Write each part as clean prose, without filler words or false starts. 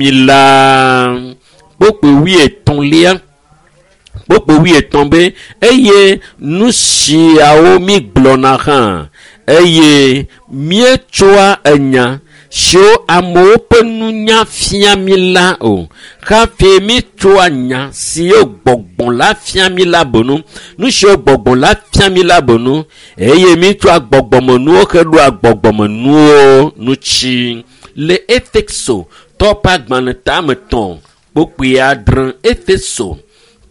Mi la kpokpo wuietɔ̃lia kpokpo wuietɔ̃ be eye nu siawo mi gblɔna hã eye míetsoa enya siwo amewo ƒe nunya fia mi la o hafi míetsoa nya siwo gbɔgbɔ la fia mi la bonu nu siwo gbɔgbɔ la fia mi la bonu eye míetsoa gbɔgbɔmenuwo heɖoa gbɔgbɔmenuwo ŋuti le Efeso tɔwo ƒe agbalẽ tame tɔ̃ kpokpui adre Efeso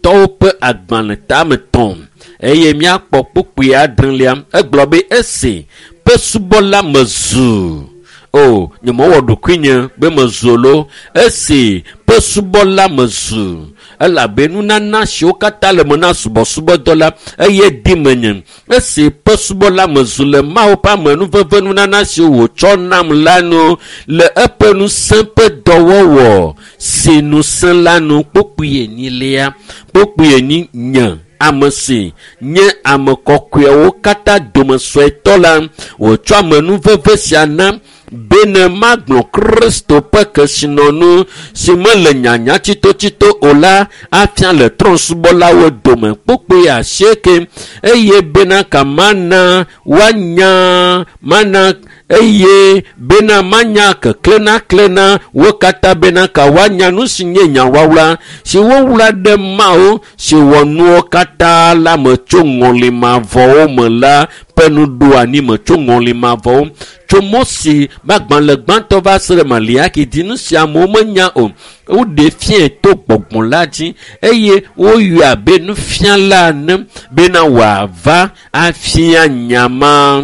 tɔwo ƒe agbalẽ tame tɔ̃ eye míakpɔ kpokpui adrelia egblɔ be esi ƒe subɔla mezu o nyemewɔ ɖokuinye be mezu lo esi ƒe subɔla mezu elabe nunana siwo katã le me na subɔsubɔdɔ la eye di menye esi ƒe subɔla mezu le Mawu ƒe amenuveve nunana siwo wòtsɔ nam la nu le eƒe ŋusẽ ƒe dɔwɔwɔ si ŋusẽ la nu kpokpui enyilia kpokpui enyi nye ame si nye ame kɔkɔewo katã dome suetɔ la wòtsɔ amenuveve sia na bene magblɔ Kristo ƒe kesinɔnu si mele nyanya tsitotsito o la afia le trɔ̃subɔlawo dome kpokpui asieke eye bena ka mana woanya mana eye bena manya keklẽnaklẽna wo katã bena ka woanya nu si nye nyawawla si wowla ɖe Mawu si wɔ nuwo katã la me tso ŋɔlimavɔwo me la ƒe nuɖoanyi me tso ŋɔlimavɔwo tso Mose ƒe agbalẽ gbãtɔ va se ɖe Maliaki dzi nu si amewo menya o woɖe fiae to gbɔgbɔ la dzi eye woyɔe abe nufiala ene bena wòava afia nya ma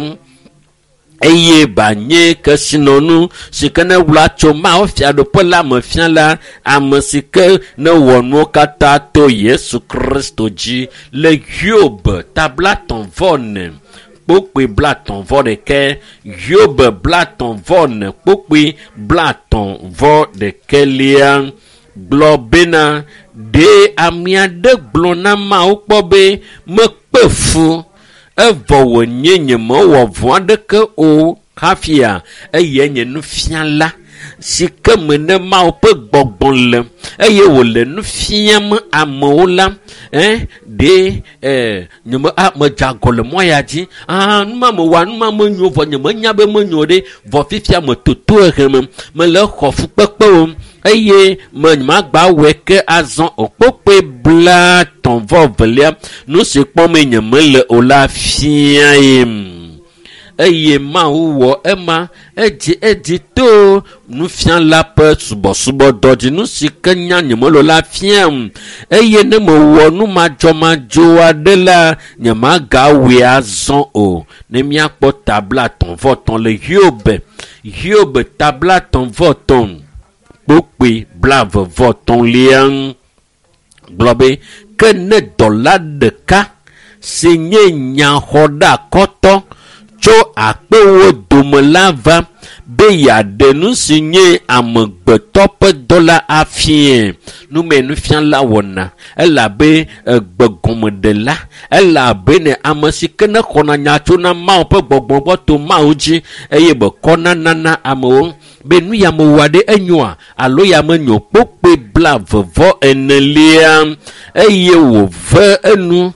eye banye kesinɔnu si ke ne wla tso Mawu fiaɖuƒe la me fia la ame si ke ne wɔ nuwo katã to Yesu Kristo dzi le Hiob ta blatɔ̃ vɔ ene kpokpui blatɔ̃ vɔ ɖekɛ Hiob blatɔ̃ vɔ ene kpokpui blatɔ̃ vɔ ɖekɛlia gblɔ bena ɖe ame aɖe gblɔ na Mawu kpɔ be mekpe fu evɔ wònye nyemewɔ vɔ̃ aɖeke o hafia eye nye nufiala si ke me ne Mawu ƒe gbɔgbɔ le eye wòle nu fiam amewo la ɖe nyeme medze agɔ le mɔ ya dzi numa mewɔa numa menyo vɔ nyemenya be menyo ɖe vɔ fifia metoto ehe me mele xɔ fukpekpewo eye me nyemagba wɔe ke azɔ o kpokpoe blatɔ̃ vɔ velia nu si kpɔm nyemele o la fiae eye Mawu wɔ ema edzi edzi to nufiala ƒe subɔsubɔdɔ dzi nu si ke nya nyemele o la fiam eye ne mewɔ nu madzɔmadzɔ aɖe la nyemagawɔe azɔ o ne míakpɔ ta blatɔ̃ vɔ tɔ̃ le Hiob Hiob ta blatɔ̃ vɔ tɔ̃ kpokpui blave vɔ tɔ̃lia gblɔ be ke ne dɔla ɖeka si nye nyaxɔɖeakɔtɔ tso akpewo dome la va be yeaɖe nu si nye amegbetɔ ƒe dɔ la afiae nume nufiala wɔna elabe egbegɔmeɖela elabe ne ame si ke ne xɔna nya tso na Mawu ƒe gbɔgbɔ gbɔ to Mawu dzi eye bekɔna nana amewo be nu ya mewɔa ɖe enyoa alo ya menyo kpokpoe blave vɔ enelia eye wòve enu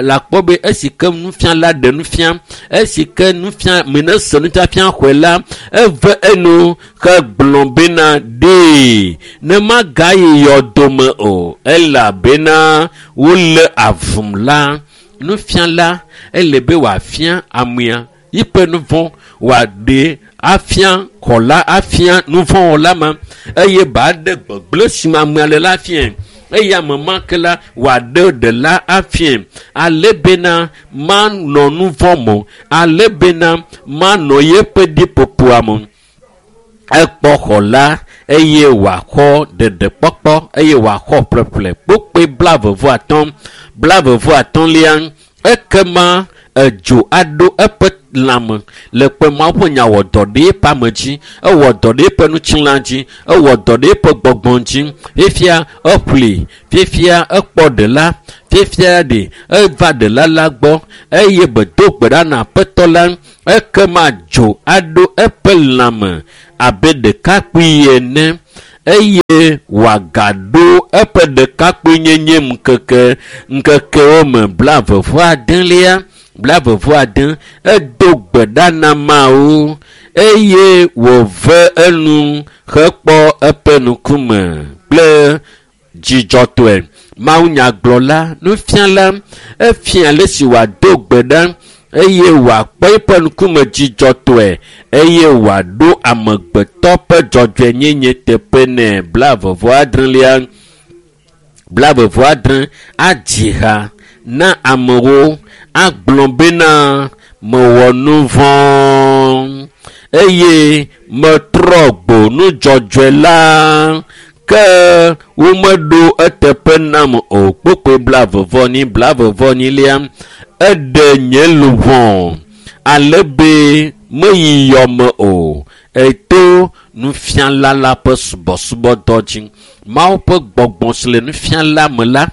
la kpɔ be esi ke nufiala ɖe nufia esi ke nufia mene se nufiafia xɔe la eve enu hegblɔ bena ɖee ne magayi yɔdome o elabena wole avum la nufiala ele be wòafia amea yiƒe nuvɔ̃ wòaɖe afia xɔla afia nuvɔ̃wɔla ma eye ba ɖe gbegblẽ si me amea le la fiae eye ame ma ke la wòaɖe ɖela afiae ale bena manɔ nuvɔ̃ me ale bena manɔ yeƒe ɖiƒoƒoa me ekpɔ xɔla eye wòaxɔ ɖeɖekpɔkpɔ eye wòaxɔ ƒleƒle kpokpoe blave vɔ atɔ̃ blave vɔ atɔ̃lia ekema edzo aɖo eƒe lãme le kpe Mawu ƒe nya wɔ dɔ ɖe eƒe ame dzi ewɔ dɔ ɖe eƒe ŋutilã dzi ewɔ dɔ ɖe eƒe gbɔgbɔ dzi fifia eƒli fifia ekpɔ ɖela fifia ɖe eva ɖela la gbɔ eye bedo gbe ɖa na aƒetɔ la ekema dzo aɖo eƒe lãme abe ɖekakpui ene. eye wòagaɖo eƒe ɖekakpuinyenye ŋkeke ŋkekewo me 29lia 29 edo gbe ɖa na Mawu eye wòve enu hekpɔ eƒe ŋkume kple dzidzɔtɔe. Mawunyagblɔla, nufiala, efia ale si wòado gbe ɖa eye wòakpɔ eƒe ŋkume dzidzɔtɔe eye wòaɖo amegbetɔ ƒe dzɔdzɔenyenye teƒe nɛ. 26lia 26 adzi ha na amewo agblɔ bena mewɔ nu vɔ̃ eye metrɔ gbo nudzɔdzɔe la ke womeɖo eteƒe nam o. Kpokpoe 40 44lia eɖe nye luʋɔ ale be meyi yɔme o. Eto nufiala la ƒe subɔsubɔdɔ dzi. Mawu ƒe gbɔgbɔ si le nufiala me la,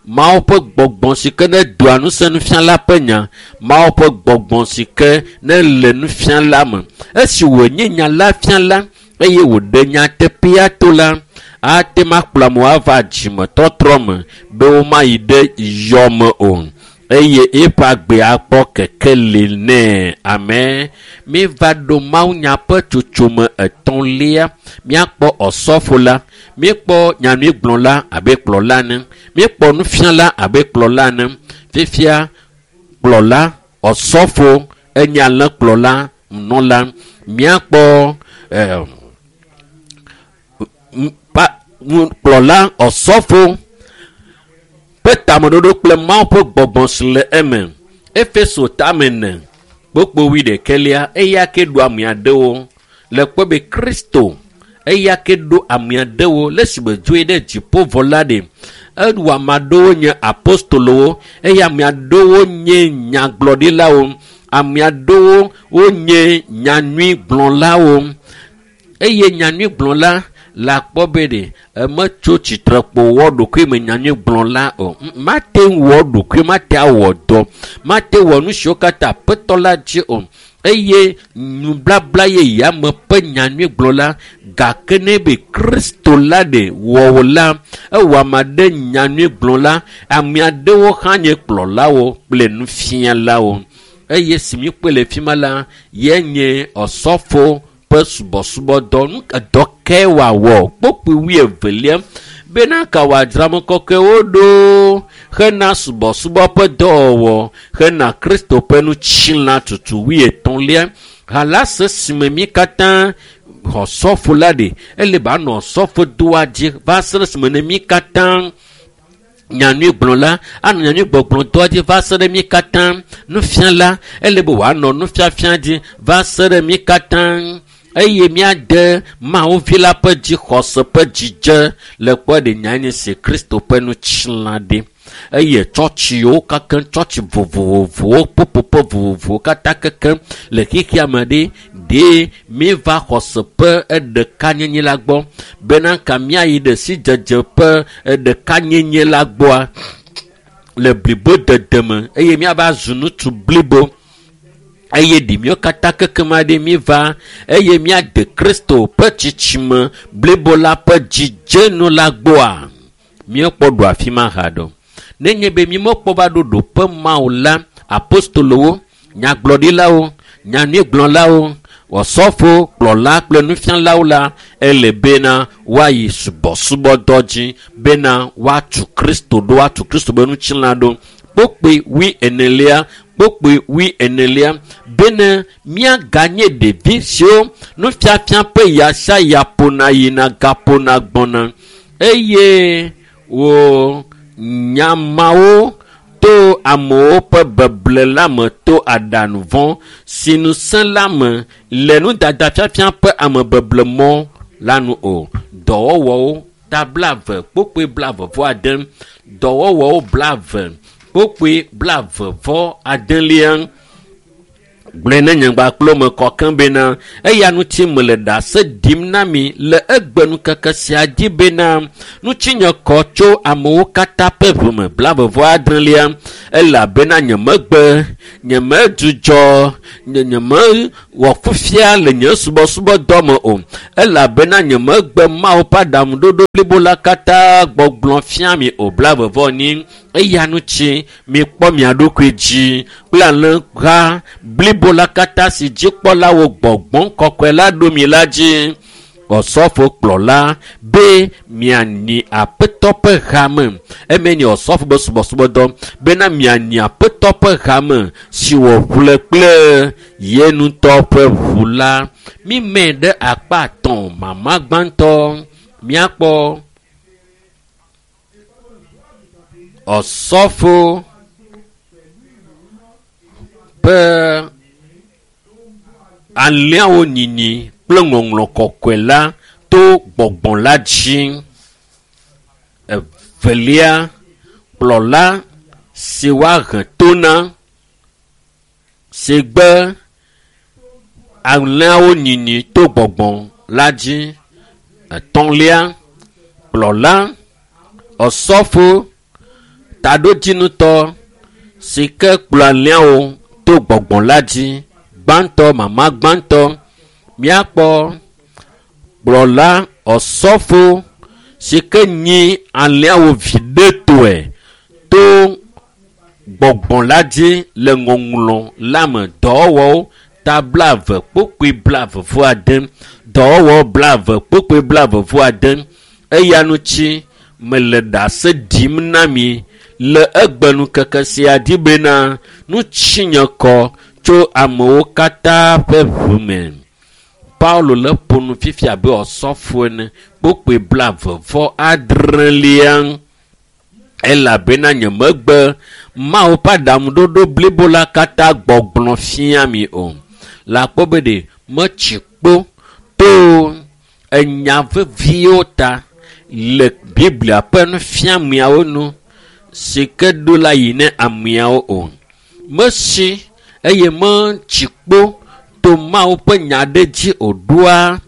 Mawu ƒe gbɔgbɔ si ke ne doa ŋusẽ nufiala ƒe nya, Mawu ƒe gbɔgbɔ si ke ne le nufiala me. Esi wònye nya la fiala eye wòɖe nyateƒea to la, ate ŋu akplɔ amewo ava dzimetɔtrɔ me be womayi ɖe yɔme o eye eƒe agbe akpɔ kekeli nɛ. Amen. Míeva ɖo mawunya ƒe tsotsome etɔ̃lia. Míakpɔ ɔsɔfo la, míekpɔ nyanyuigblɔla abe kplɔla ene, míekpɔ nufiala abe kplɔla ene. Fifia kplɔla, ɔsɔfo enye alẽkplɔla, nunɔla. Míakpɔ kplɔla, ɔsɔfo ƒe tameɖoɖo kple Mawu ƒe gbɔgbɔ si le eme. Efeso tame ene kpokpo wuiɖekɛlia eya ke ɖo ame aɖewo le kpɔ be Kristo eya ke ɖo ame aɖewo le esime dzoe ɖe dziƒo vɔ la ɖe. Ewɔ ame aɖewo nye apostolowo eye ame aɖewo nye nyagblɔɖilawo. Ame aɖewo wonye nyanyuigblɔlawo eye nyanyuigblɔla la kpɔ be ɖe emetso tsitre kpo wɔ ɖokui me nyanyuigblɔla o. Mate ŋu wɔ ɖokui, mate awɔ dɔ, mate wɔ nu siwo katã Aƒetɔ la dzi o. Eye nublabla yeyea me ƒe nyanyuigblɔla gake ne be Kristo la ɖe wɔwò la, ewɔ ame aɖe nyanyuigblɔla, ame aɖewo hã nye kplɔlawo kple nufialawo. Eye si míkpɔe le fi ma la, ye nye ɔsɔfo ƒe subɔsubɔdɔ. Nu dɔ kae wòawɔ? Kpokpoe wuievelia bena ka wòadzra ame kɔkɔewo ɖo hena subɔsubɔ ƒe dɔwɔwɔ hena Kristo ƒe ŋutilã tutu wuietɔ̃lia. Halase si me mí katã xɔ sɔfo la ɖe, ele be anɔ sɔfo doa dzi va se ɖe esime ne mí katã nyanyuigblɔla anɔ nyanyuigbɔgblɔdɔa dzi va se ɖe mí katã nufiala ele be wòanɔ nufiafia dzi va se ɖe mí katã eye míade Mawu vi la ƒe dzixɔse ƒe dzidze le kpɔ ɖe nyanyi si Kristo ƒe ŋutilã ɖe. Eye tsɔtsiwo kake tsɔtsi vovovowo ƒuƒoƒe vovovowo katã keke le xexea me ɖe ɖe míeva xɔse ƒe eɖekanyenye la gbɔ bena ka míayi ɖe sidzedze ƒe eɖekanyenye la gbɔa le blibodede me eye míava zu ŋutsu blibo eye ɖi míawo katã keke ma ɖe míeva eye míade Kristo ƒe tsitsime blibo la ƒe dzidzenu la gbɔa míekpɔ ɖo afi ma ha ɖo. Nenye be mímekpɔ va ɖo ɖoƒe ma o la, apostolowo, nyagblɔɖilawo, nyanyuigblɔlawo, ɔsɔfo, kplɔla kple nufialawo la, ele bena woayi subɔsubɔdɔ dzi bena woatu Kristo ɖo, woatu Kristo ƒe ŋutilã ɖo. Kpokpoe wuienelia, kpokpoe wuienelia bene míaganye ɖevi siwo nufiafia ƒe ya sia ya ƒona yina gaƒona gbɔna eye wo nyamawo to amewo ƒe beble la me to aɖaŋu vɔ̃ si ŋusẽ la me le nudadafiafia ƒe amebeble mɔ la nu o. Dɔwɔwɔwo ta 20 kpokpoe 20 ade, dɔwɔwɔwo 20 kpokpoe 20 adelia. Gblɔe ne nye gbakplo me kɔ keŋ bena eya ŋuti mele ɖase ɖim na mi le egbe nukeke sia dzi bena ŋutinye kɔ tso amewo katã ƒe ʋume 26 elabena nyemegbe, nyemedzudzɔ, nyemewɔ fufia le nye subɔsubɔdɔ me o elabena nyemegbe Mawu ƒe aɖaŋuɖoɖo blibo la katã gbɔgblɔ fia mi o 44 eya ŋuti mikpɔ mia ɖokui dzi kple alẽha blibo la katã si dzikpɔlawo gbɔgbɔ kɔkɔe la ɖo mi la dzi. Ɔsɔfo kplɔla be mianyi aƒetɔ ƒe hame eme nye ɔsɔfo be subɔsubɔdɔ bena mianyi aƒetɔ ƒe hame si wòƒle kple ye ŋutɔ ƒe ʋu la. Mime ɖe akpa 3 mama gbãtɔ miakpɔ ɔsɔfo ƒe alẽawo nyinyi kple ŋɔŋlɔ kɔkɔe la to gbɔgbɔ la dzi. Evelia, kplɔla si woahe to na si gbe alẽawo nyinyi to gbɔgbɔ la dzi. Etɔ̃lia, kplɔla ɔsɔfo taɖodzinutɔ si ke kplɔ alẽawo to gbɔgbɔ la dzi. Gbãtɔ, mama gbãtɔ, miakpɔ kplɔla ɔsɔfo si ke nyi alẽawo viɖetɔe to gbɔgbɔ la dzi le ŋɔŋlɔ la me. Dɔwɔwɔwo ta 20:29, dɔwɔwɔ 20:29. Eya ŋuti mele ɖase ɖim na mi le egbe nukeke sia dzi bena ŋutinye kɔ tso amewo katã ƒe ʋume. Paulo le ƒo nu fifia abe ɔsɔfo ene kpokpoe 26 elabena nyemegbe Mawu ƒe aɖaŋuɖoɖo blibo la katã gbɔgblɔ fia mi o. Le akpɔ be ɖe metsi kpo to enya veviwo ta le Biblia ƒe nufiameawo nu si ke ɖo la yi ne ameawo o. Mesi eye metsi kpo to Mawu ƒe nya ɖe dzi o ɖoa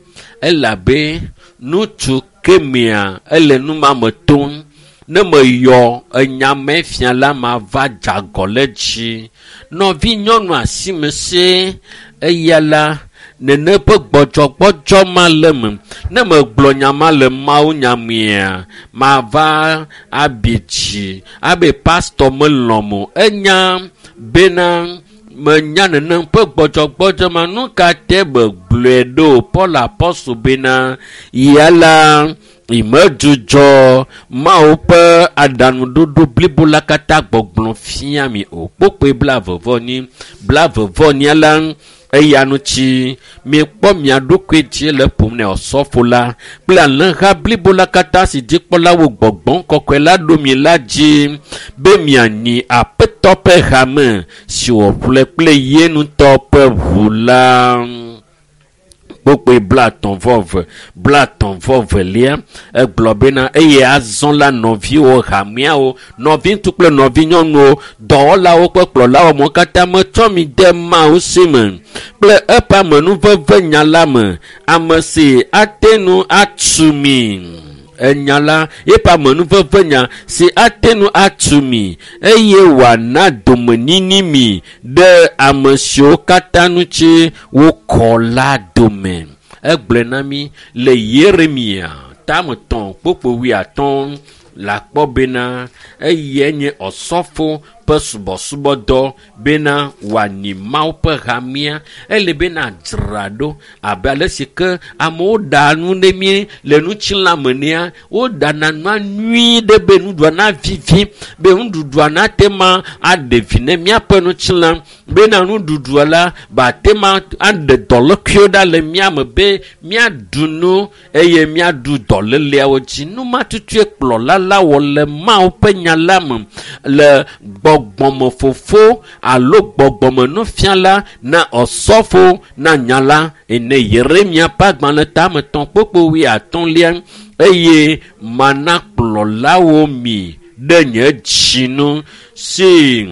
elabe ŋutsu kemea ele numame tom. Ne meyɔ enyame fia la mava dze agɔ le dzi. Nɔvi nyɔnu asimese eya la nene ƒe gbɔdzɔgbɔdzɔ ma le me. Ne megblɔ nya ma le Mawu nyamea mava abi dzi abe pastɔ melɔm o. Enya bena menya nenem ƒe gbɔdzɔgbɔdzɔ ma nu ka te megblɔe ɖo. Paul apɔstol bena ya la imedzudzɔ Mawu ƒe aɖaŋuɖoɖo blibo la katã gbɔgblɔ fia mi o. Kpokpoe 24 24 la eya ŋuti miekpɔ mia ɖokui dzi le ƒom ne ɔsɔfo la kple alẽha blibo la katã si dzikpɔlawo gbɔgbɔ kɔkɔe la ɖo mi la dzi be mianyi aƒetɔ ƒe hame si wòƒle kple ye ŋutɔ ƒe ʋu la. Kpokpoe 30 32 egblɔ bena eye azɔ la nɔviwo hameawo nɔviŋutsu kple nɔvinyɔnuwo dɔwɔlawo kple kplɔlawo mo katã metsɔ mi de Mawu si me kple eƒe amenuveve nya la me ame si ate ŋu atu mi enya la eƒe amenuveve nya si ate ŋu atu mi eye wòana domenyinyi mi ɖe ame siwo katã ŋuti wokɔ la dome. Egblɔe na mi le Yeremia tame 3:50 le akpɔ bena eyae nye ɔsɔfo ƒe subɔsubɔdɔ bena wòanyi Mawu ƒe hamea. Ele bena dzra ɖo abe ale si ke amewo ɖaa nu ɖe mí le ŋutilãme nea, woɖana nua nyui ɖe be nuɖuɖua navivi, be nuɖuɖua nate ma aɖe vi ne míaƒe ŋutilã, bena nuɖuɖua la bate ma aɖe dɔlékuiwo ɖa le mía me be míaɖu nu eye míaɖu dɔléleawo dzi. Nu ma tutue kplɔla la wɔ le Mawu ƒe nya la me le gbɔgbɔmefofo alo gbɔgbɔmenufiala na ɔsɔfo na nya la ene. Yeremia ƒe agbalẽ tame 3:50 eye mana kplɔlawo mi ɖe nye dzi nu si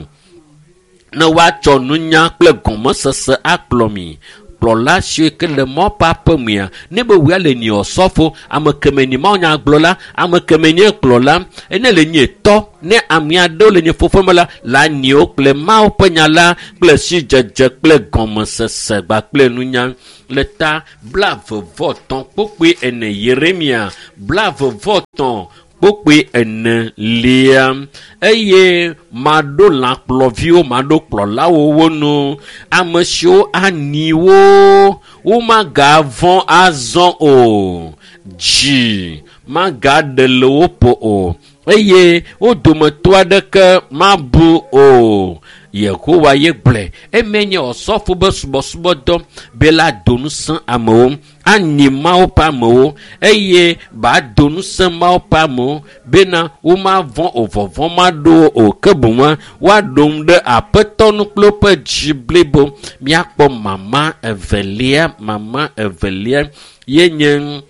Ne woatsɔ nunya kple gɔmesese akplɔ mi. Kplɔla siwo ke le mɔ ƒe aƒe mea, ne be wòya le nye osɔfo, ame keme nye mawunyagblɔla, ame keme nye kplɔla, ene le nye tɔ, ne ame aɖewo le nye fofo me la, la nyiwo kple Mawu ƒe nya la kple sidzedze kple gɔmesese kpakple nunya. Le ta 23 kpukpui 4, Yeremia 23 kpukpui 4 eye maɖo lãkplɔviwo, maɖo kplɔlawo wo nu, ame siwo anyi wo, womagavɔ̃ azɔ o, dzi magaɖe le wo ƒo o, eye wo dometɔ aɖeke mabu o. Yehowa ye gblɔe. Eme nye osɔfo be subɔsubɔdɔ be la do ŋusẽ amewo, anyi Mawu ƒe amewo, eye ba do ŋusẽ Mawu ƒe amewo bena womavɔ̃ o, vɔvɔ̃ maɖo wo o, ke boŋ woaɖo ŋu ɖe Aƒetɔ nu kple woƒe dzi blibo. Míakpɔ mama evelia, mama evelia ye nye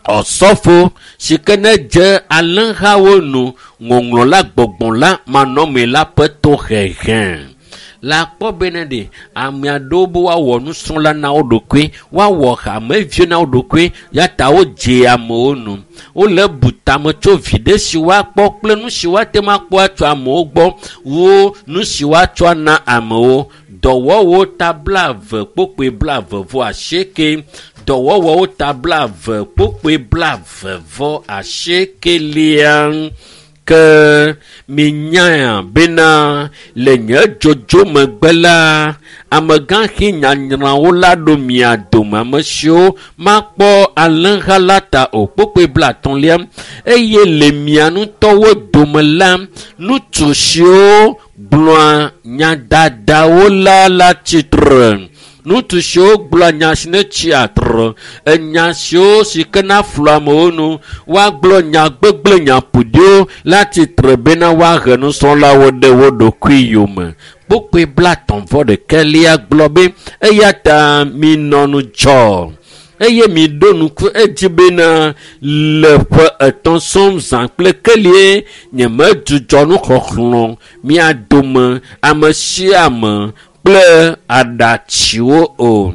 osɔfo si ke ne dze alẽhawo nu, ŋɔŋlɔ la gbɔgbɔ la manɔmee la ƒe tohehe. La kpɔ bena ɖe ame aɖewo be woawɔ nusrɔ̃la na wo ɖokui, woawɔ hameviwo na wo ɖokui, ya ta wodze amewo nu. Wole bu tame tso viɖe si woakpɔ kple nu si woate ŋu akpɔ atso amewo gbɔ wu nu si woatsɔ ana amewo. Dɔwɔwɔwo ta 20 kpukpui 28, dɔwɔwɔwo ta 20 kpukpui 28. Ke minyae bena le nye dzodzo megbe la, amegãxi nyanyrawo la ɖo mia dome, ame siwo makpɔ alẽha la ta o. Kpukpui 50. Eye le mia ŋutɔwo dome la, ŋutsu siwo gblɔa nyadadawo la la tsitre. Ŋutsu siwo gblɔa nya si ne tsi atre, enya siwo si ke na flu amewo nu, woagblɔ nya gbegblẽ, nya ƒoɖiwo la tsitre bena woahe nusrɔ̃lawo ɖe wo ɖokui yome. Kpukpui 31 gblɔ be, eya ta minɔ ŋudzɔ, eye miɖo ŋku edzi bena le ƒe 3 sɔŋ zã kple kelie nyemedzudzɔ nuxɔxlɔ̃ mia dome ame sia ame kple aɖatsiwo o.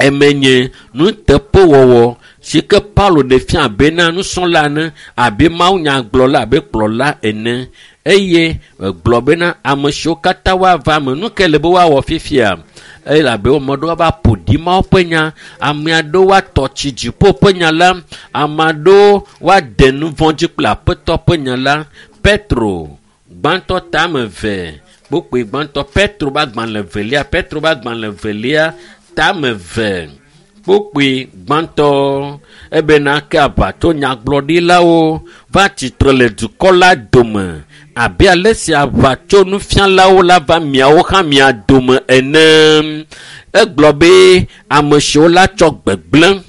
Eme nye nuteƒewɔwɔ si ke Paulo ɖe fia bena nusrɔ̃la ene, abe mawunyagblɔla, abe kplɔla ene. Eye egblɔ bena ame siwo katã woava eme, nu ke le be woawɔ fifia? Elabe ame aɖewo va ƒo ɖi Mawu ƒe nya, ame aɖewo woatɔ tsi dziƒo ƒe nya la, ame aɖewo woade nu vɔ̃ dzi kple Aƒetɔ ƒe nya la. Petro gbãtɔ tame 2 kpukpui gbãtɔ, Petro ƒe agbalẽ velia, Petro ƒe agbalẽ velia tame 2 kpukpui gbãtɔ, ebena ke aʋatso nyagblɔɖilawo va tsitre le dukɔ la dome abe ale si aʋatso nufialawo la va miawo hã mia dome ene. Egblɔ be ame siwo la tsɔ gbegblẽ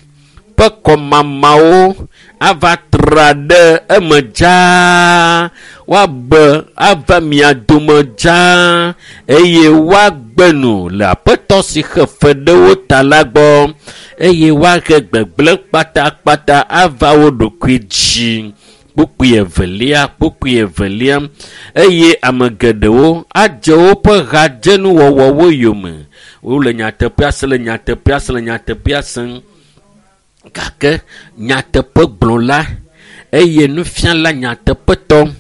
ƒe kɔmamawo ava tra ɖe eme dzaa, woabe ava mia dome dzaa, eye woagbe nu le Aƒetɔ si xe fe ɖe wo ta la gbɔ, eye woahe gbegblẽ kpatakpata ava wo ɖokui dzi. Kpukpui evelia, kpukpui evelia, eye ame geɖewo adze woƒe hadzenuwɔwɔwo yome. Wole nyateƒea sem, le nyateƒea sem, le nyateƒea sem. Gake nyateƒegblɔla eye nufiala nyateƒetɔ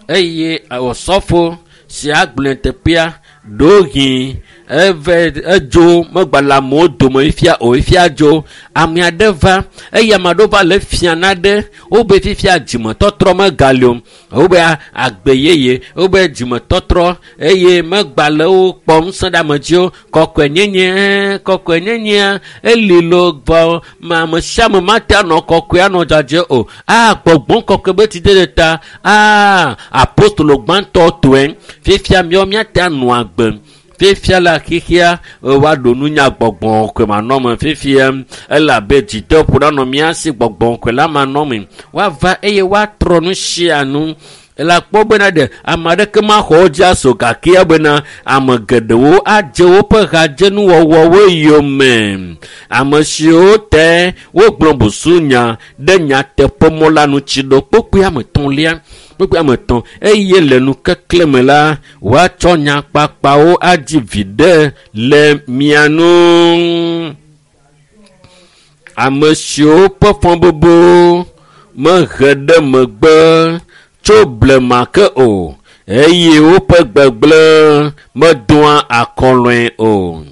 eye osɔfo si agblɔ nyateƒea ɖewohĩ eve edzo megba le amewo dome fifia o, fifia dzo. Ame aɖe va eye ame aɖewo va le fia naɖe, wobe fifia dzimetɔtrɔ megali o, wobe agbe yeye, wobe dzimetɔtrɔ eye megba le wo kpɔm ŋusẽ ɖe ame dzi o. Kɔkɔenyenye, kɔkɔenyenyea eli lo vɔ ame sia ame mate anɔ kɔkɔe anɔ dzadzɛ o. A gbɔgbɔ kɔkɔe be tsi ɖe ta, a apostolo gbãtɔ tɔe fifia míawo míate anɔ agbe. Fifia la xexea woaɖo nunya gbɔgbɔ kɔkɔe manɔme fifia, elabe dzideƒo ɖanɔ mía si gbɔgbɔ kɔkɔe la manɔme. Woava eye woatrɔ nu sia nu. Ele akpɔ bena ɖe ame aɖeke maxɔ wo dzi aso gake bena ame geɖewo adze woƒe hadzenuwɔwɔwo yome. Ame siwo te wogblɔ busunya ɖe nyateƒemɔ la ŋuti ɖo kpokpoe ame etɔ̃lia kpokpoe ame etɔ̃ eye le nukekle me la woatsɔ nyakpakpawo adzi viɖe le mia nu. Ame siwo ƒe fɔbubu mehe ɖe megbe tso blema ke o eye woƒe gbegblẽ medoa akɔlɔe o.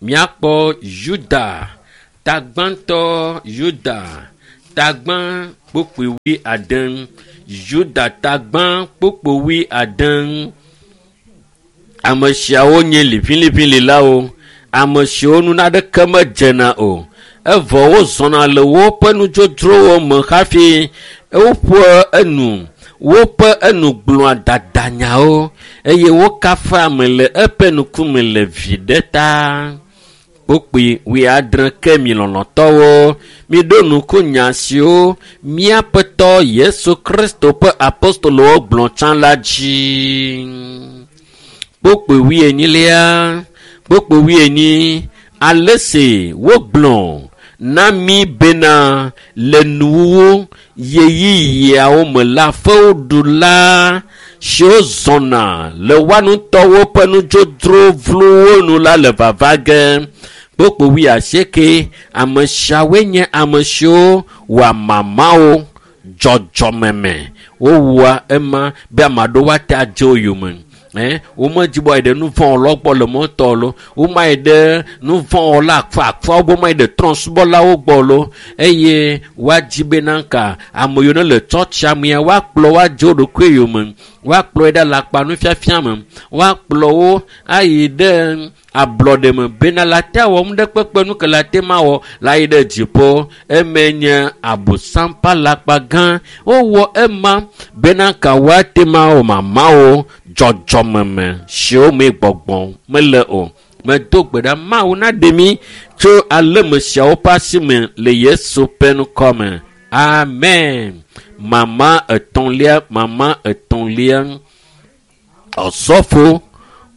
Míakpɔ Yuda tagbãtɔ Yuda tagbã kpokpoe wuiade Yuda tagbã kpokpoe wuiade. Ame siawo nye liʋiliʋililawo, ame siwo nu naɖeke medzena o. Evɔ wozɔna le woƒe nudzodzrowo me hafi woƒe enu woƒe enu gblɔa dadanyawo eye wokafa ame le eƒe ŋkume le viɖe ta. Kpokpoe wuiadre ke mi lɔlɔ̃tɔwo miɖo ŋku nya siwo míaƒetɔ Yesu Kristo ƒe apostolowo gblɔ tsã la dzi. Kpokpoe wuienyilia kpokpoe wuienyi ale si wogblɔ na mí bena le nuwuwu ɣeyiɣiawo me la fewuɖula siwo zɔna le woa ŋutɔwo ƒe nudzodzro vlowo nu la le vava ge. Kpokpoe wuiasieke ame siawoe nye ame siwo wɔa mamawo dzɔdzɔmeme. Wowɔa ema be ame aɖewo ate adze wo yome. Womedzi be woayi ɖe nuvɔ̃wɔlawo gbɔ le mɔtɔ lo womayi ɖe nuvɔ̃wɔla akfaakfawo gbɔ womayi ɖe trɔ̃subɔlawo gbɔ lo eye woadzi bena ka ame yiwo ne le tsɔtsia mea woakplɔ wo adze wo ɖokui yome woakplɔ yi ɖe alakpa nufiafia me woakplɔ wo ayi ɖe ablɔɖe me bena la te awɔ nu ɖe kpekpe nu ke la te ma wɔ la yi ɖe dziƒo eme nye abosam ƒe alakpa gã wowɔ ema bena ka woate ma wɔ mamawo dzɔdzɔmeme siwo me gbɔgbɔ mele o. Medo gbe ɖa Mawu naɖe mí tso aleme siawo ƒe asi me le Yesu ƒe ŋkɔ me. Amen. Mama etɔ̃lia mama etɔ̃lia ɔsɔfo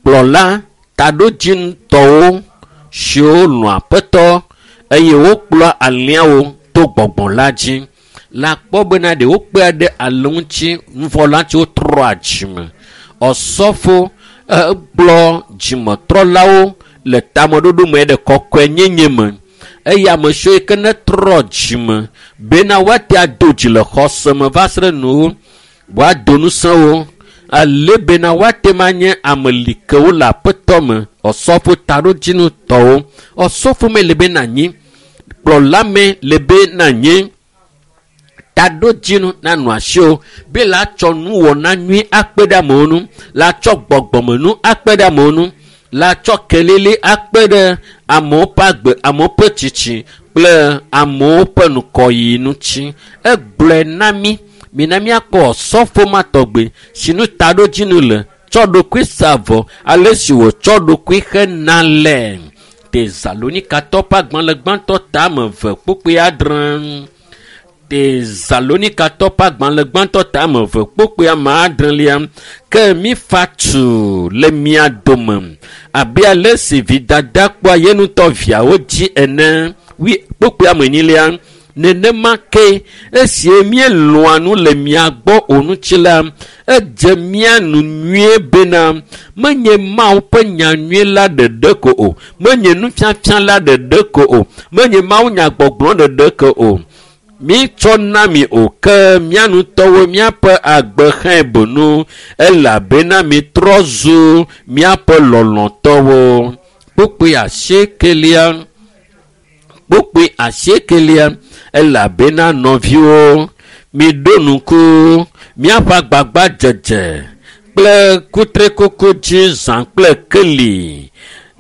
kplɔla taɖodzinutɔwo siwo lɔ̃ aƒetɔ eye wokplɔa alẽawo to gbɔgbɔ la dzi. Le akpɔ bena ɖe wokpea ɖe ale ŋuti nuvɔla ŋuti wotrɔa dzime. Ɔsɔfo ekplɔ dzimetrɔlawo le tameɖoɖo me ɖe kɔkɔenyenye me eye ame siwo yi ke netrɔ dzime bena woate ado dzi le xɔse me va se ɖe nuwo woado ŋusẽ wo ale bena woate ma nye ame likewo le aƒetɔ me ɔsɔfo taɖodzinutɔwo ɔsɔfo me le be nanyi kplɔla me le be nanyi taɖodzinu nanɔ asiwò be la tsɔ nuwɔna nyui akpe ɖe amewo ŋu la tsɔ gbɔgbɔmenu akpe ɖe amewo ŋu la tsɔ kelili akpe ɖe amewo ƒe agbe amewo ƒe tsitsi kple amewo ƒe ŋkɔyiyi ŋuti. Egblɔe na mí mina míakpɔ ɔsɔfo ma tɔgbe si nu taɖodzinu le tsɔ ɖokui sa vɔ ale si wòtsɔ ɖokui hena le Tesalonikatɔ ƒe agbalẽ gbãtɔ tame eve kpukpui adre. Tesalonikatɔ ƒe agbalẽ gbãtɔ tame eve kpukpui ame adrelia ke mífa tu le mia dome abe ale si vidada kpɔa ye ŋutɔ viawo dzi ene wi kpukpui ame enyilia nenema ke esie míelɔ̃a nu le mia gbɔ o ŋuti la edze mía nu nyuie bena menye Mawu ƒe nya nyui la ɖeɖe ko o menye nufiafia la ɖeɖe ko o menye Mawu nyagbɔgblɔ ɖeɖe ko o mítsɔ na mi o ke mía ŋutɔwo míaƒe agbe hãe bonu elabena mitrɔ zu míaƒe lɔlɔ̃tɔwo. Kpukpui asiekelia kpukpui asiekelia elabena nɔviwo miɖo ŋku míaƒe agbagbadzedze kple kutrikuku dzi zã kple keli.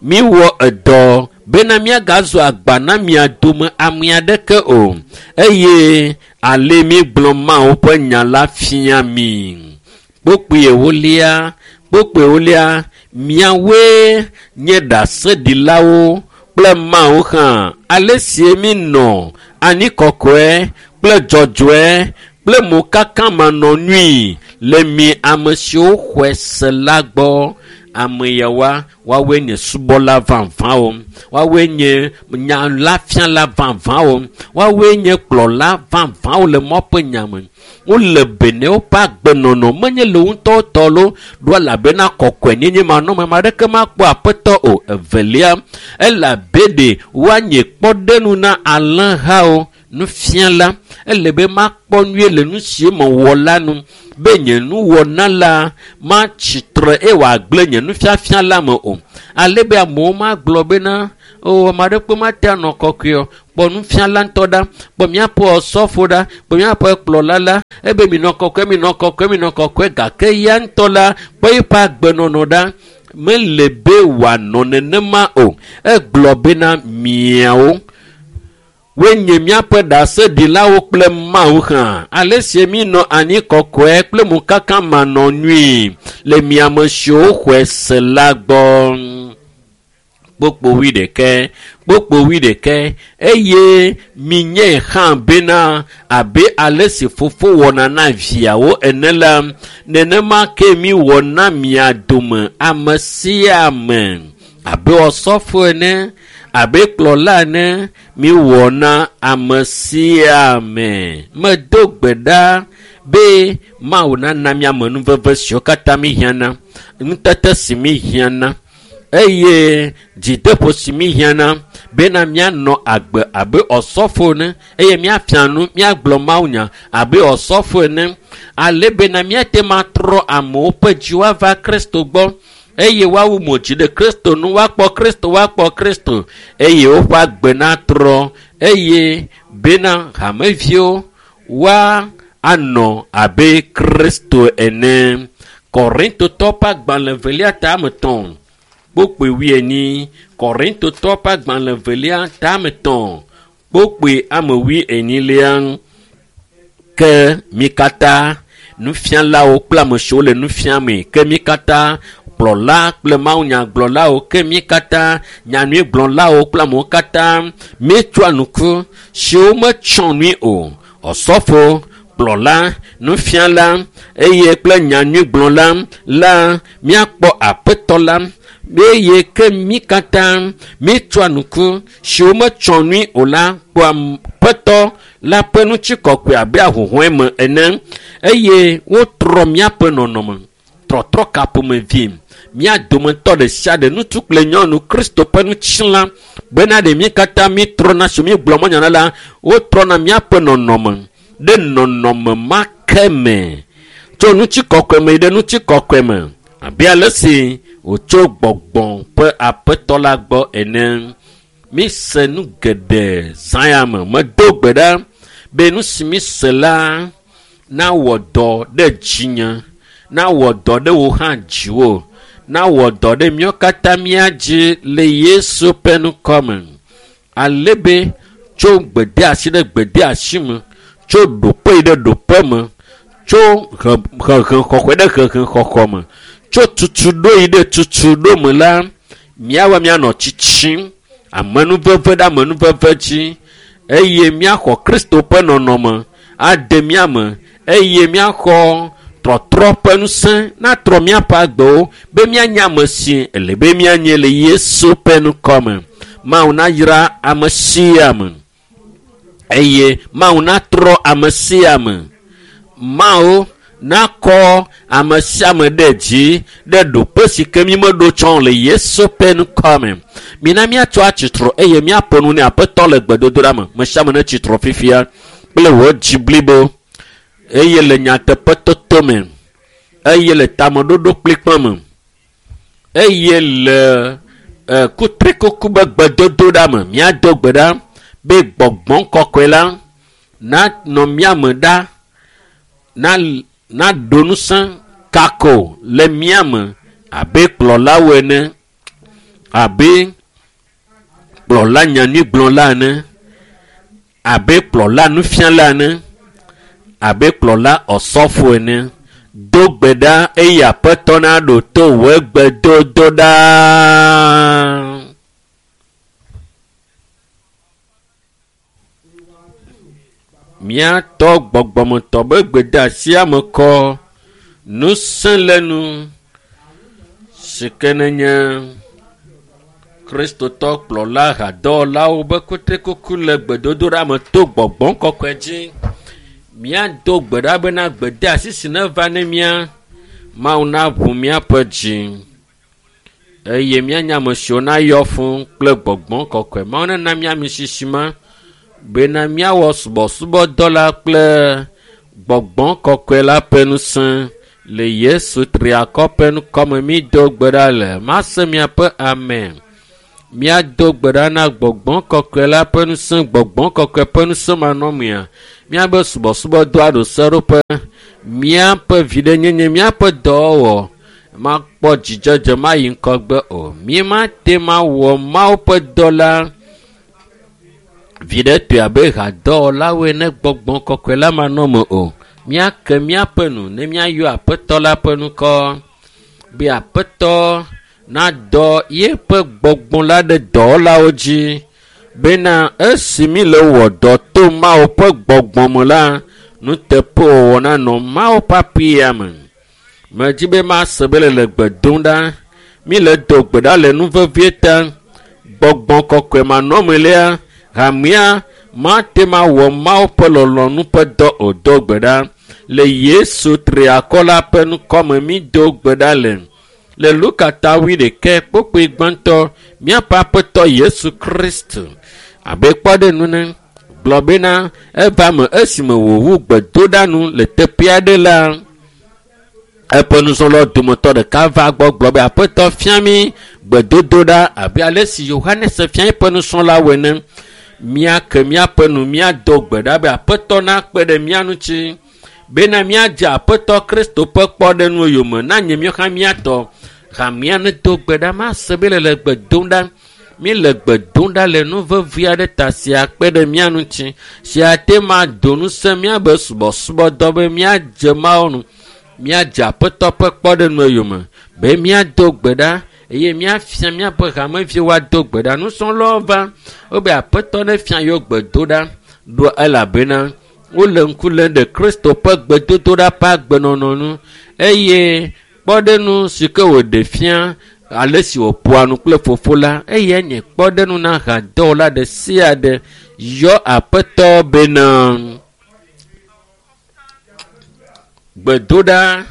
Míwɔ edɔ bena míagazu agba na mia dome ame aɖeke o eye ale mígblɔ Mawu ƒe nya la fia mi. Kpukpui ewolia kpukpui ewolia miawoe nye ɖaseɖilawo kple Mawu hã ale si míenɔ anyi kɔkɔe kple dzɔdzɔe kple mokakamanɔnui le mi ame siwo xɔe se la gbɔ. Ame yawoa, woawoe nye subɔla vavãwo, woawoe nye nyalafiala vavãwo, woawoe nye kplɔla vavãwo le Mawu ƒe nya me. Wole be ne woƒe agbenɔnɔ menye le wo ŋutɔwo tɔ loo ɖo elabena kɔkɔenyenye manɔme ame aɖeke makpɔ aƒetɔ o. Evelia, elabe ɖe woanye kpɔɖenu na alẽhawo. Nufiala, ele be makpɔ nyuie le nu si mewɔ la nu be nye nuwɔna la matsi tre eye wòagblẽ nye nufiafia la me o. Ale be amewo magblɔ bena o ame aɖeke mate anɔ kɔkɔe o. Kpɔ nufiala ŋutɔ ɖa, kpɔ míaƒe osɔfo ɖa, kpɔ míaƒe kplɔla la, ebe minɔ kɔkɔe, minɔ kɔkɔe, minɔ kɔkɔe gake ya ŋutɔ la kpɔ eƒe agbenɔnɔ ɖa. Mele be wòanɔ nenema o. Egblɔ bena miawo woenye míaƒe ɖaseɖilawo kple Mawu hã. Ale si minɔ anyi kɔkɔe kple mokaka manɔ nyui le miame siwo xɔe se la gbɔ. Kpokpo wuiɖekɛ, kpokpo wuiɖekɛ eye minyae hã bena abe ale si fofo wɔna na viawo ene la, nenema ke miwɔ na mia dome ame sia ame abe osɔfo ene, abe kplɔla ene, miwɔ na ame sia ame. Medo gbe ɖa be Mawu nana míame nuveve siwo katã míhiãna, nutete si míhiãna eye dzideƒo si míhiãna bena míanɔ agbe abe osɔfo ene eye míafia nu, míagblɔ mawunya abe osɔfo ene ale bena míate ŋu atrɔ amewo ƒe dziwo ava Kristo gbɔ eye woawu mo dzi ɖe Kristo nu, woakpɔ Kristo, woakpɔ Kristo eye woƒe agbe natrɔ eye bena hameviwo woa anɔ abe Kristo ene. Korintotɔwo ƒe agbalẽ evelia ta ame etɔ̃ kpokpoe wuienyi. Korintotɔwo ƒe agbalẽ evelia ta ame etɔ̃ kpokpoe ame wuienyilia. Ke mi katã nufialawo kple ame siwo le nu fiame, ke mi katã kplɔla kple mawunyagblɔlawo, ke mi katã nyanyuigblɔlawo kple amewo katã míetsɔa nuku siwo metsɔ nui o. Osɔfo, kplɔla, nufiala eye kple nyanyuigblɔla la míakpɔ aƒetɔ la eye ke mi katã míetsɔa nuku siwo metsɔ nui o la kpɔa aƒetɔ la ƒe ŋutikɔkɔe abe ahuhɔ̃e me ene eye wotrɔ míaƒe nɔnɔme. Trɔtrɔ ka ƒomevi mía dometɔ ɖe sia ɖe ŋutsu kple nyɔnu Kristo ƒe ŋutilã bena ɖe mí katã mítrɔna si mígblɔ mɔnyana la wotrɔna míaƒe nɔnɔme ɖe nɔnɔme ma ke me tso ŋutikɔkɔe me yi ɖe ŋutikɔkɔe me abe ale si wòtso gbɔgbɔ ƒe aƒetɔ la gbɔ ene. Mise nu geɖe zã ya me. Medo gbe ɖa be nu si mise la nawɔ dɔ ɖe dzinye, nawɔ dɔ ɖe wò hã dziwò, nawɔ dɔ ɖe míawo katã mía dzi le Yesu ƒe ŋkɔ me. Ale be tso gbedeasi ɖe gbedeasi me, tso ɖoƒe yi ɖe ɖoƒe me, tso hehexɔxɔe ɖe hehexɔxɔ me, tso tutuɖo yi ɖe tutuɖo me la, míawoa míanɔ tsitsim amenuveve ɖe amenuveve dzi eye míaxɔ Kristo ƒe nɔnɔme ade mía me eye míaxɔ trɔtrɔ ƒe ŋusẽ natrɔ míaƒe agbewo be míanye ame si ele be míanye le Yesu ƒe ŋkɔ me. Mawu nayra ame sia ame eye Mawu natrɔ ame sia ame. Mawu nakɔ ame sia ame ɖe dzi ɖe ɖoƒe si ke mímeɖo tsɔ le Yesu ƒe ŋkɔ me. Mina míatsɔ atsitre eye míaƒo nu ne aƒetɔ le gbedodoɖa me. Ame sia ame netsi tre fifia kple wò dzi blibo eye le nyateƒetoto me eye le tameɖoɖo kplikpa me eye le kutrikuku be gbedodoɖa me. Míado gbe ɖa be gbɔgbɔ kɔkɔe la nanɔ mía me ɖa, naɖo ŋusẽ kako le mía me abe kplɔlawo ene, abe kplɔla nyanyuigblɔla ene, abe kplɔla nufiala ene, abe kplɔla osɔfo ene. Do gbe ɖa eye aƒetɔ naɖo to wò gbedodoɖa. Míatɔ gbɔgbɔmetɔ be gbedeasia me kɔ. Ŋusẽ le nu si ke nenye Kristotɔ kplɔla hadɔwɔlawo be kutrikuku le gbedodoɖa me to gbɔgbɔ kɔkɔe dzi. Míado gbe ɖa bena gbedeasi si neva ne mía Mawu naʋu míaƒe dzi eye míanye ame siwo nayɔ fũu kple gbɔgbɔ kɔkɔe. Mawu nena mía ami sisi ma bena míawɔ subɔsubɔdɔ la kple gbɔgbɔ kɔkɔe la ƒe ŋusẽ le Yesu triakɔ ƒe ŋkɔme mído gbe ɖa le. Mase miaƒe amen. Míado gbe ɖa na gbɔgbɔ kɔkɔe la ƒe ŋusẽ, gbɔgbɔ kɔkɔe ƒe ŋusẽ manɔmea, míabe subɔsubɔdɔ aɖo seɖoƒe, míaƒe viɖenyenye, míaƒe dɔwɔwɔ makpɔ dzidzedze mayi ŋgɔgbe o. Mímate mawɔ Mawu ƒe dɔ la viɖetɔe abe hadɔwɔlawo ene gbɔgbɔ kɔkɔe la manɔme o. Míake míaƒe nu ne míayɔ Aƒetɔ la ƒe ŋkɔ be Aƒetɔ nadɔ yeƒe gbɔgbɔ la ɖe dɔwɔlawo dzi bena esi mi le wɔ dɔ to Mawu ƒe gbɔgbɔ me la, nuteƒewɔwɔ nanɔ Mawu ƒe aƒea me. Medzi be mase be le le gbe dom ɖa. Mi le do gbe ɖa le nu vevie ta. Gbɔgbɔ kɔkɔe manɔme lea, hamea mate ma wɔ Mawu ƒe lɔlɔ̃nu ƒe dɔ o. Do gbe ɖa le Yesu triakɔ la ƒe ŋkɔme mi do gbe ɖa le. Le Luka ta wuiɖekɛ kpukpui gbãtɔ míaƒe aƒetɔ Yesu Kristo abe kpɔɖeŋu ne gblɔ bena eva me esime wòwu gbedoɖa nu le teƒe aɖe la, eƒe nusrɔ̃lawo dometɔ ɖeka va gbɔ gblɔ be aƒetɔ fia mí gbedodoɖa abe ale si Yohanes fia eƒe nusrɔ̃lawo ene. Míake míaƒe nu míado gbe ɖa be aƒetɔ nakpe ɖe mía ŋuti bena míadze aƒetɔ Kristo ƒe kpɔɖeŋu yome na nye míawo hã míatɔ. Hamea nedo gbe ɖa mase be le le gbe dom ɖa. Mi le gbe dom ɖa le nu vevi aɖe ta sia kpe ɖe mía ŋuti sia te ma do ŋusẽ míabe subɔsubɔdɔ be míadze Mawu nu míadze aƒetɔ ƒe kpɔɖeŋu yome be míado gbe ɖa eye míafia míaƒe hameviwo woado gbe ɖa. Nusrɔ̃lawo va wobe aƒetɔ ne fia yewo gbedoɖa ɖo elabena wole ŋku lém ɖe Kristo ƒe gbedodoɖa ƒe agbenɔnɔ nu eye kpɔɖeŋu si ke wòɖe fia ale si wòƒoa nu kple fofo la eyae nye kpɔɖeŋu na hadɔwɔla ɖe sia ɖe yɔ aƒetɔ bena gbedoɖa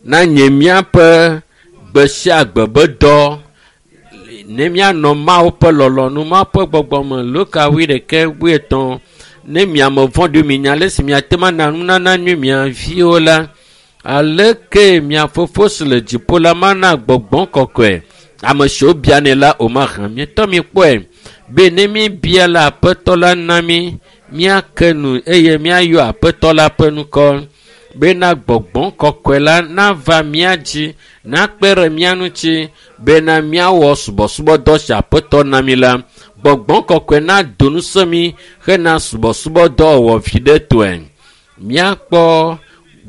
na nye míaƒe gbe sia gbe be dɔ ne míanɔ Mawu ƒe lɔlɔ̃nu, Mawu ƒe gbɔgbɔ me. Luka wuiɖekɛ wuietɔ̃ ne miame vɔ̃ɖi minya ale si miate ŋu ana nunana nyui mia viwo la, aleke mia fofo si le dziƒo la mana gbɔgbɔ kɔkɔe ame siwo bianɛ la o mahã. Mietɔ mi kpɔe be ne míbia la aƒetɔ la na mí míake nu eye míayɔ aƒetɔ la ƒe ŋkɔ bena gbɔgbɔ kɔkɔe la nava mía dzi nakpe ɖe mía ŋuti bena míawɔ subɔsubɔdɔ si aƒetɔ na mí la. Gbɔgbɔ kɔkɔe nado ŋusẽ mí hena subɔsubɔdɔ wɔwɔ viɖetɔe. Míakpɔ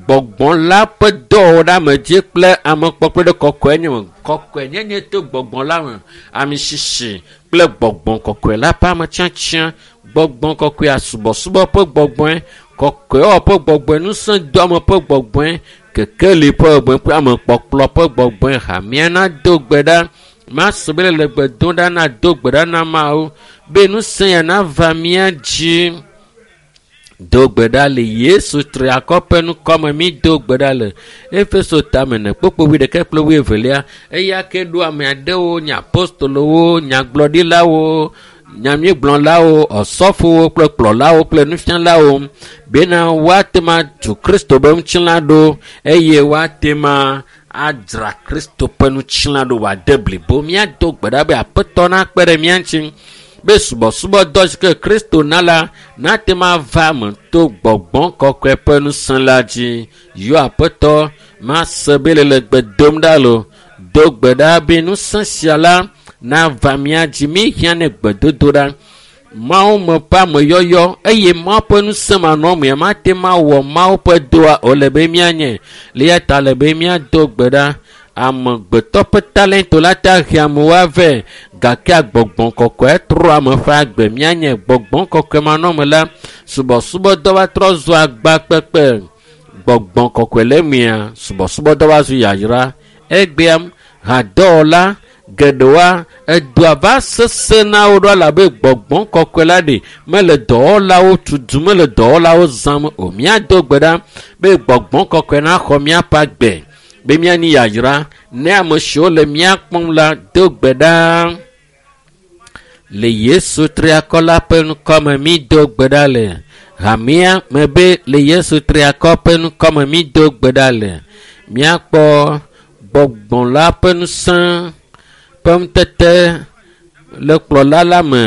gbɔgbɔ la ƒe dɔwɔɖeamedzi kple amekpɔkplɔ ɖe kɔkɔe me. Kɔkɔenyenye to gbɔgbɔ la me, ami sisi kple gbɔgbɔ kɔkɔe la ƒe ametsiatsia. Gbɔgbɔ kɔkɔea subɔsubɔ ƒe gbɔgbɔe, kɔkɔewɔwɔ ƒe gbɔgbɔe, ŋusẽdoame ƒe gbɔgbɔe, kekeli ƒe gbɔgbɔe kple amekpɔkplɔ ƒe gbɔgbɔe. Hamea nado gbe ɖa. Mase be le gbe dom ɖa nado gbe ɖa na Mawu be ŋusẽ ya nava mía dzi. Do gbe ɖa le Yesu triakɔ ƒe ŋkɔme mi do gbe ɖa le Efeso tame ne kpukpui wuiɖekɛ kple wuievelia. Eya ke ɖo ame aɖewo nye apostolowo, nyagblɔɖilawo, nyanyuigblɔlawo, ɔsɔfowo kple kplɔlawo kple nufialawo bena woate ŋu atu Kristo ƒe ŋutilã ɖo eye woate ŋu adzra Kristo ƒe ŋutilã ɖo wòade blibo. Míado gbe ɖa be aƒetɔ nakpe ɖe mía ŋuti be subɔsubɔdɔ si ke Kristo na la nate ŋu ava eme to gbɔgbɔ kɔkɔe ƒe ŋusẽ la dzi. Yɔ aƒetɔ mase be le le gbe dom ɖa lo. Do gbe ɖa be ŋusẽ sia la nava mía dzi. Míhiã ne gbedodoɖa. Mawu me ƒe ameyɔyɔ eye Mawu ƒe ŋusẽ manɔmea mate ŋu awɔ Mawu ƒe dɔa o le be míanye. Le eya ta le be míado gbe ɖa. Amegbetɔ ƒe talento la te ahe amewo avɛ gake gbɔgbɔ kɔkɔe trɔ ame ƒe agbe. Míanye gbɔgbɔ kɔkɔe manɔme la, subɔsubɔdɔ va trɔ zu agba kpekpe. gbɔgbɔ kɔkɔe le mia subɔsubɔdɔ va zu yayra. Egbea hadɔwɔla geɖewoa edoa va sese na wo ɖo elabe gbɔgbɔ kɔkɔe la ɖe mele dɔwɔlawo tutum mele dɔwɔlawo zãm o. Míado gbe ɖa be gbɔgbɔ kɔkɔe naxɔ míaƒe agbe be míanyi yayra ne ame siwo le mía kpɔm la do gbe ɖa. Le Yesu triakɔ la ƒe ŋkɔme mído gbe ɖa le hamea me be le Yesu triakɔ ƒe ŋkɔme mído gbe ɖa le míakpɔ gbɔgbɔ la ƒe ŋusẽ ƒe ŋutete le kplɔla la me.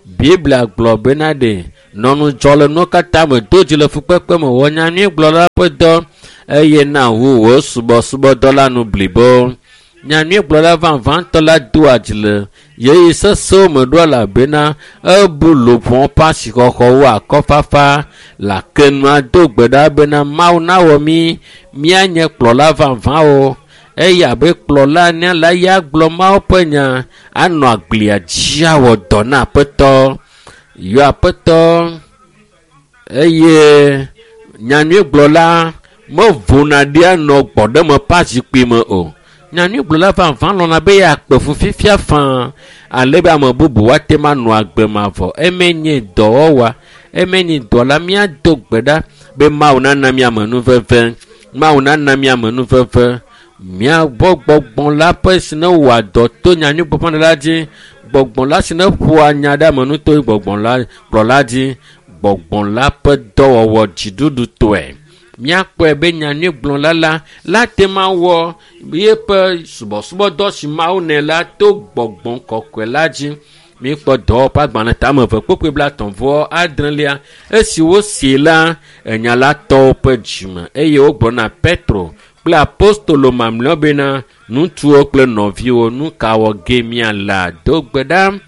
Biblia gblɔ bena ɖe nɔnudzɔ le nuwo katã me do dzi le fukpekpe me wɔ nyanyuigblɔla ƒe dɔ eye na wu wò subɔsubɔdɔ la nu blibo. Nyanyuigblɔla vavãtɔ la doa dzi le ɣeyiɣi sesẽwo me ɖo elabena ebu luʋɔ ƒe asixɔxɔwo akɔfafa le ake nua do gbe ɖa bena Mawu nawɔ mí míanye kplɔla vavãwo eye abe kplɔla ene la ya gblɔ Mawu ƒe nya anɔ agblia dzi awɔ dɔ na aƒetɔ. Yɔ aƒetɔ eye nyanyuigblɔla mevona ɖi anɔ gbɔɖeme ƒe azikpui me o. Nyanyuigblɔla vavã lɔ̃na be yeakpe fu fifia faa ale be ame bubu woate ŋu anɔ agbe mavɔ. Eme nye dɔwɔwɔa, eme nye dɔ la míado gbe ɖa be Mawu nana mí amenuveve. Mawu nana mí amenuveve. Míagbɔ gbɔgbɔ la ƒe si ne wɔa dɔ to nyanyuigbeƒãɖela la dzi, gbɔgbɔ la si ne ƒoa nya ɖe ame nu to gbɔgbɔ la kplɔla dzi, gbɔgbɔ la ƒe dɔwɔwɔ dziɖuɖutɔe. Míakpɔe be nyanyuigblɔla la la te ŋu awɔ yeƒe subɔsubɔdɔ si Mawu nɛ la to gbɔgbɔ kɔkɔe la dzi. Míkpɔ dɔwɔƒe agbalẽ tame eve kpukpui blaetɔ̃ vɔ adrelia esi wosi la enya la tɔwo ƒe dzime eye wogblɔ na Petro kple apostolo mamlɛawo bena ŋutsuwo kple nɔviwo nu ka wɔ ge míala do gbe ɖa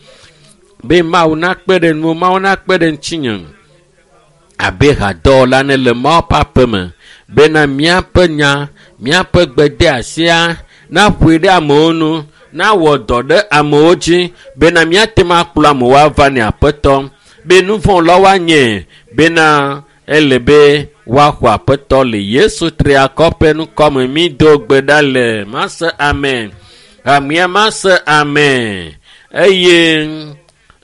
be Mawu nakpe ɖe nu Mawu nakpe ɖe ŋutinye abe hadɔwɔla ne le Mawu ƒe aƒe me bena míaƒe nya míaƒe gbedeasia naƒoe ɖe amewo nu nawɔ dɔ ɖe amewo dzi bena míate ŋu akplɔ amewo ava ne aƒetɔ be nu vɔ̃ la woanye bena ele be woaxɔ aƒetɔ le Yesu triakɔ ƒe ŋkɔme mído gbe ɖa le mase amen hamea mase amen eye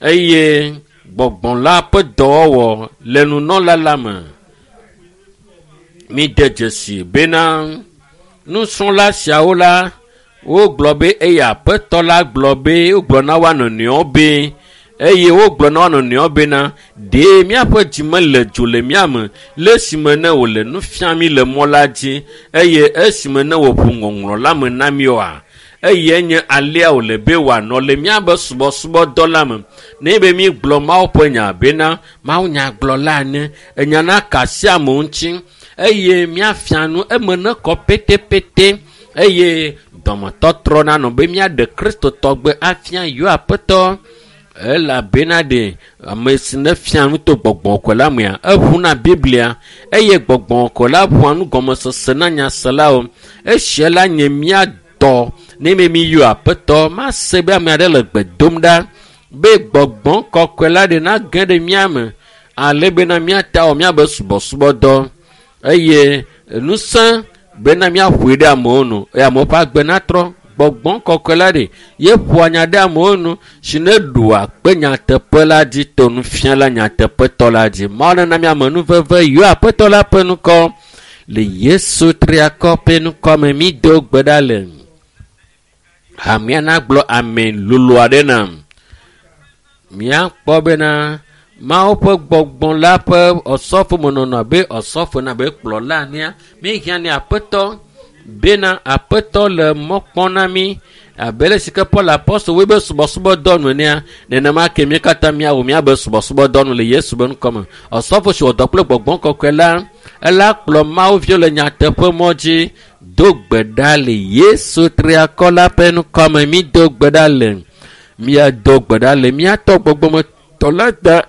eye gbɔgbɔ la ƒe dɔwɔwɔ le nunɔla la me. Míde dzesi bena nusrɔ̃la siawo la wogblɔ be eye aƒetɔ la gblɔ be wogblɔ na woa nɔnɔewo be eye wogblɔ na woa nɔnɔewo bena ɖe míaƒe dzi mele dzo le mía me le esime ne wòle nu fiam mí le mɔ la dzi eye esime ne wòƒo ŋɔŋlɔ la me na mí oa eye nye alea wòle be wòanɔ le míaƒe subɔsubɔdɔ la me. Ne be mígblɔ Mawu ƒe nya bena Mawu nyagblɔla ene enya na ka sia amewo ŋuti eye míafia nu eme nekɔ petepete eye dɔmetɔtrɔ nanɔ be míaɖe Kristotɔgbe afia yewo aƒetɔ elabena ɖe ame si ne fia nu to gbɔgbɔ kɔkɔe la mea eʋuna Biblia eye gbɔgbɔ kɔkɔe la ʋua nugɔmesese na nyaselawo. Esia la nye mía dɔ ne mi miyɔ aƒetɔ mase be ame aɖe le gbe dom ɖa be gbɔgbɔ kɔkɔe la ɖe nage ɖe mía me ale bena míata wɔ míabe subɔsubɔdɔ eye ŋusẽ bena míaƒoe ɖe amewo nu eye amewo ƒe agbe natrɔ. Gbɔgbɔ kɔkɔe la ɖe ye ƒoa nya ɖe amewo nu si ne ɖua kpe nyateƒe la dzi to nufiala nyateƒetɔ la dzi. Mawu nana mí amenuveve yɔ aƒetɔ la ƒe ŋkɔ le Yesu triakɔ ƒe ŋkɔ me mído gbe ɖa le. Hamea nagblɔ amen lolo aɖe nam. Míakpɔ bena Mawu ƒe gbɔgbɔ la ƒe ɔsɔfomenɔnɔ abe ɔsɔfo ene abe kplɔla enea míehiã ne aƒetɔ bena aƒetɔ le mɔ kpɔm na mí abe le si ke Paul apostol woe be subɔsubɔdɔ nu enea nenema ke mí katã míawɔ míabe subɔsubɔdɔ nu le Yesu be ŋkɔme. Ɔsɔfo si wɔ dɔ kple gbɔgbɔ kɔkɔe la ela kplɔ Mawu viwo le nyateƒe mɔ dzi do gbe ɖa le Yesu triakɔ la ƒe ŋkɔme mído gbe ɖa le míado gbe ɖa le míatɔ gbɔgbɔmetɔ la ta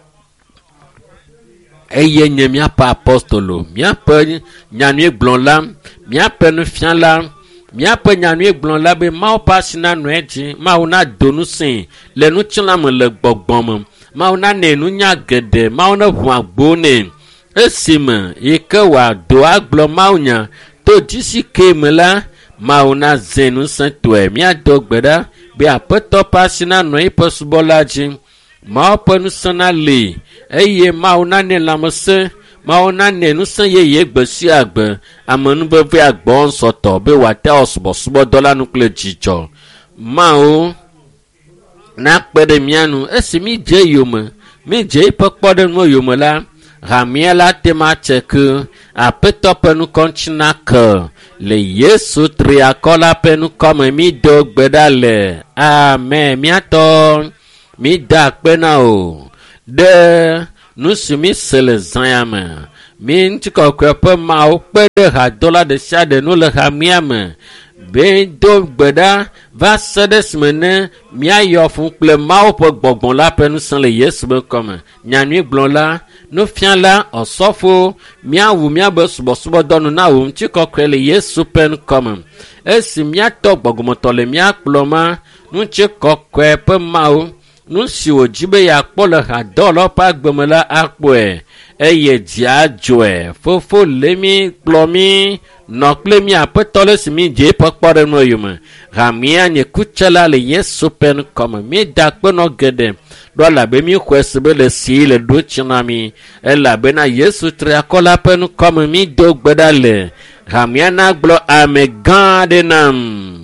eye nye míaƒe apostolo míaƒe nyanyuigblɔla míaƒe nufiala míaƒe nyanyuigblɔla be Mawu ƒe asi nanɔ edzi Mawu nado ŋusẽe le ŋutilã me le gbɔgbɔ me Mawu nanɛ nunya geɖe Mawu neʋu agbo nɛ Esime yi ke wòado agblɔ mawunya to dzisi ke me la, Mawu nazẽ ŋusẽtɔe. Míado gbe ɖa be Aƒetɔ ƒe asi nanɔ eƒe subɔla dzi. Mawu ƒe ŋusẽ nali eye Mawu nanɛ lãmesẽ. Mawu nanɛ ŋusẽ yeye gbe sia gbe. Amenuveve agbɔ ŋsɔtɔ be wòate awɔ subɔsubɔdɔ la nu kple dzidzɔ. Mawu nakpe ɖe mía nu esi mídze yome, mídze eƒe kpɔɖeŋu yome la, hamea la te ma tse ke Aƒetɔ ƒe ŋkɔ ŋuti nake le Yesu triakɔ la ƒe ŋkɔ me mído gbe ɖa le. Amen. Míatɔ mída akpe na o ɖe nu si míse le zã ya me. Mí ŋutikɔkɔe ƒe Mawu kpe ɖe hadola ɖe sia ɖe nu le hamea me be do gbe ɖa va se ɖe esime ne míayɔ fũ kple Mawu ƒe gbɔgbɔ la ƒe ŋusẽ le Yesu ƒe ŋkɔme. Nyanyuigblɔla, nufiala, ɔsɔfo, míawu míabe subɔsubɔdɔ nu na wò ŋutikɔkɔe le Yesu ƒe ŋkɔme. Esi míatɔ gbɔgbɔmetɔ le mía kplɔ ma, ŋutikɔkɔe ƒe Mawu, nu si wòdzi be yeakpɔ le hadɔwɔlawo ƒe agbe me la akpɔe eye dzi adzɔe. Fofo le mí kplɔ mí nɔ kple mí Aƒetɔ le esi mídze eƒe kpɔɖeŋu yome. Hamea nye kutsela le Yesu ƒe ŋkɔme. Míeda akpe nɔ geɖe ɖo elabe míxɔe se be le si le ɖo tsi na mí elabena Yesu triakɔ la ƒe ŋkɔme mído gbe ɖa le. Hamea nagblɔ ame gã aɖe nam.